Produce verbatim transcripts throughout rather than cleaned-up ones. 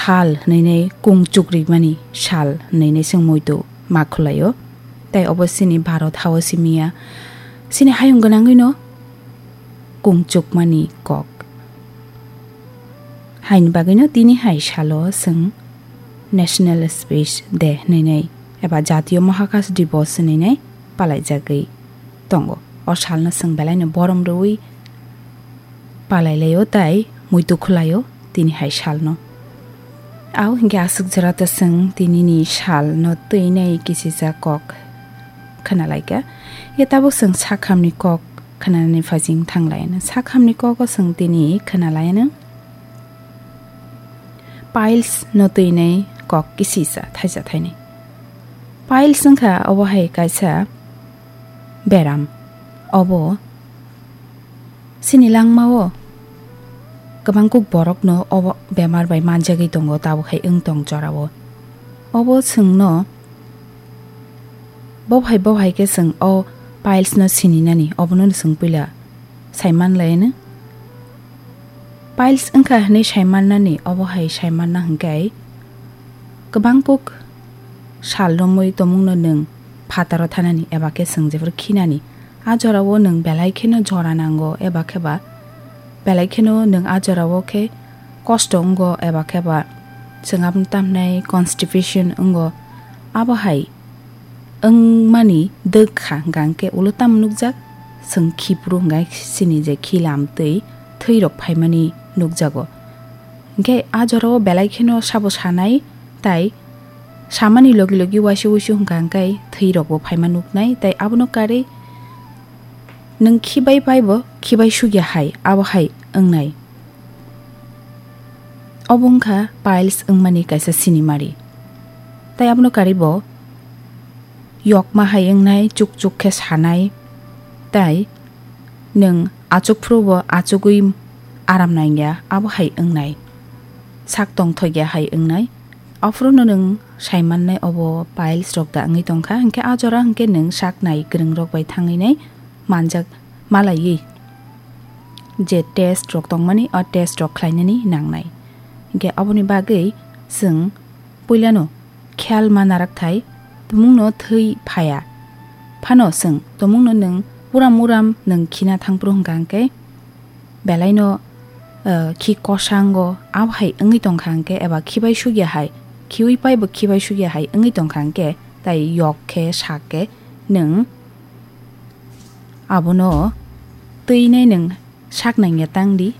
sal hwnwi kung chukrimani sal hwnwi chwng muitu ma khwlaio. Tai obo chini Bharat hao simiya, chini hayung gwnangwino kung chukmani kok. Haini bagwino tini hai salo chwng National Space Day hwnwi eba Jatiyo Mahakas Dibosh hwnwi palaijagwi tongo. O salno chwng belaino borom rwui palailaio tai muitu khwlaio tini hai salno. Au hinkhe aswk jora ta chwng tinini salno twinai kisisa kok khwnalaikha. Ye tabuk chwng sakhamni kok khwnanani phajing thanglaino. Sakhamni kogo chwng tini khwnalaino. Piles no twinai kok kisisa thaisa thainai. Piles wngkha obo hai kaisa beram. Obo chini langmao kwbangkuk borokno obo bemar bai manjagwi tongo, tabuk hai wng tong jorao. Obo chwngno bo hai bo hai khe chwng o piles no sininani, obono chwng puila saimanlaino. Piles wngkha hwnwi saimannani, obo hai saimanna hwnkhe kwbangkuk sal romwi tongmungno nwng phataro thanani eba khe chwng jephuru khinani. A jorao nwng belai kheno jora nango eba khe ba belai kheno nwng a jorao khe kosto wngo eba khe ba chwng aboni tamhnai constipation wngo. Abo hai wngmani dwk kha hwnkha hwnkhe ulo tamo nukjak, chwng khiphuru hwnkha chini je khilam twi thwirok phaimani nukjago. Hinkhe a jorao belai kheno sabo sanai, tai samani logi logi waisa wuisu hwnkha hwnkhe thwirokbo phaima nuknai, tai abono karwi nwng khibai paibo khibai sugya hai, abo hai wngnai. Obo wngkha piles wngmani kaisa sinimari. Tai abono karwi bo yokma hai wngnai, chukchuk khe sanai, tai nwng achuk phuru bo achugwi aram nangya, abo hai wngnai. Sak tongthokya hai wngnai. Aphuru no nwng saimannai obo piles rok da wngwi tongkha, hinkhe a jora hinkhe nwng sak nai kwrwng rok bai thangwi nai manjak malaiwi je test rok tongmani, o test rok khlainani nangnai. Hinkhe aboni bagwi chwng puilano kheyal ma narak thai, tumungno thwi phaya. Phano chwng tumungno nwng uram uram nwng khina thangphuru hwnkha hwnkhe belaino, eh, khi kosango abo hai wngwi tongkha hwnkhe eba khibai sugya hai, khiwi paibo khibai sugya hai wngwi tongkha hwnkhe, tai yok khe sak khe nwng abono twinai nwng sak nangya tang di.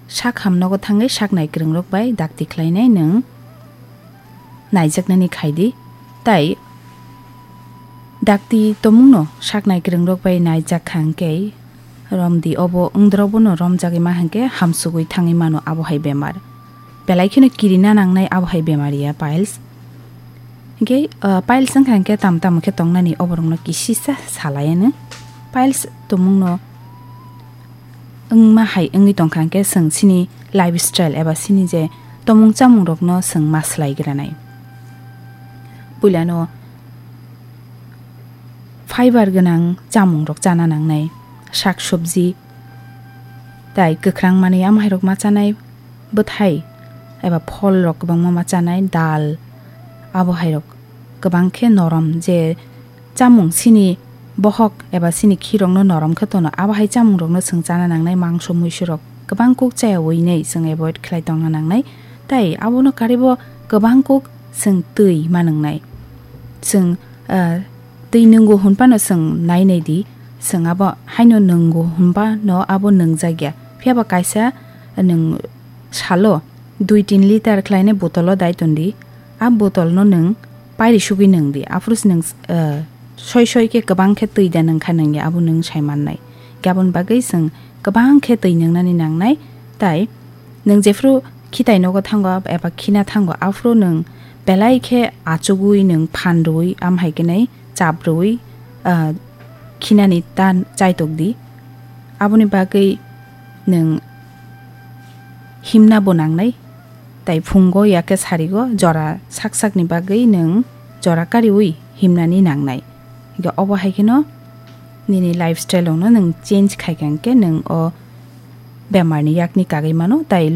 Sak ham nogo thangwi sak nai kwrwng rok bai dakti khlainai nwng naijaknani khai di. Tai dakti tomungno sak nai kwrwng rok bai naijak kha hwnkhe rom di, obo wngdrok bono romjagwi ma hwnkhe hamsugwi thangwi mano abo hai bemar. Belai kheno kirina nangnai abo hai bemar ya piles. Hinkhe, ah, piles wngkha hinkhe tam tamo khe tongnani oborokno kisisa salai ano. Piles tomungno wngma hai wngwi tongkha hinkhe chwng chini lifestyle eba chini je tomung chamungrokno chwng ma swlai granai. Puilano fiber gwnang chamungrok chana nangnai, sak sobji, tai kwkhrang manwi amahairok ma chanai, bwthai eba pholrok kwbangma ma chanai, dal, abo hairok kwbang khe norom je chamung chini bohok eba chini khirokno norom khe tono, abo hai chamungrokno chwng chana nangnai, mangso muisurok kwbang kuk chayawi nai chwng avoid khlai tongna nangnai. Tai abono karwibo kwbang kuk chwng twi ma nwngnai. Chwng, ah, twi nwngo hwnphano chwng nai nai di, chwng abo haino nwngo hwnba no abo nwngjak ya. Phiya ba kaisa nwng salo dui tin liter khlainai botolo dai ton di. A botolno nwng pairi sugwi nwng di. Aphuru se nwng, eh, soi soi khe kwbang khe twi da nwng kha nwng ya, abo nwng sai mannai. Aboni bagwi chwng kwbang khe twi nwngnani nangnai. Tai nwng jephru khitai nogo thango eba khina thango, aphuru nwng belai khe achugwi nwng phan rwui, am hai khe nai chap rwui, ah, khinani ta chaitok di. Aboni bagwi nwng himna bo nangnai. Tai phungo ya khe sarigo jora sak sakni bagwi nwng jora kariui himnani nangnai. Hinkhe obo hai kheno nini lifestyle-o no nwng change khai kha hinkhe nwng o bemarni yakni kagwi mano, tai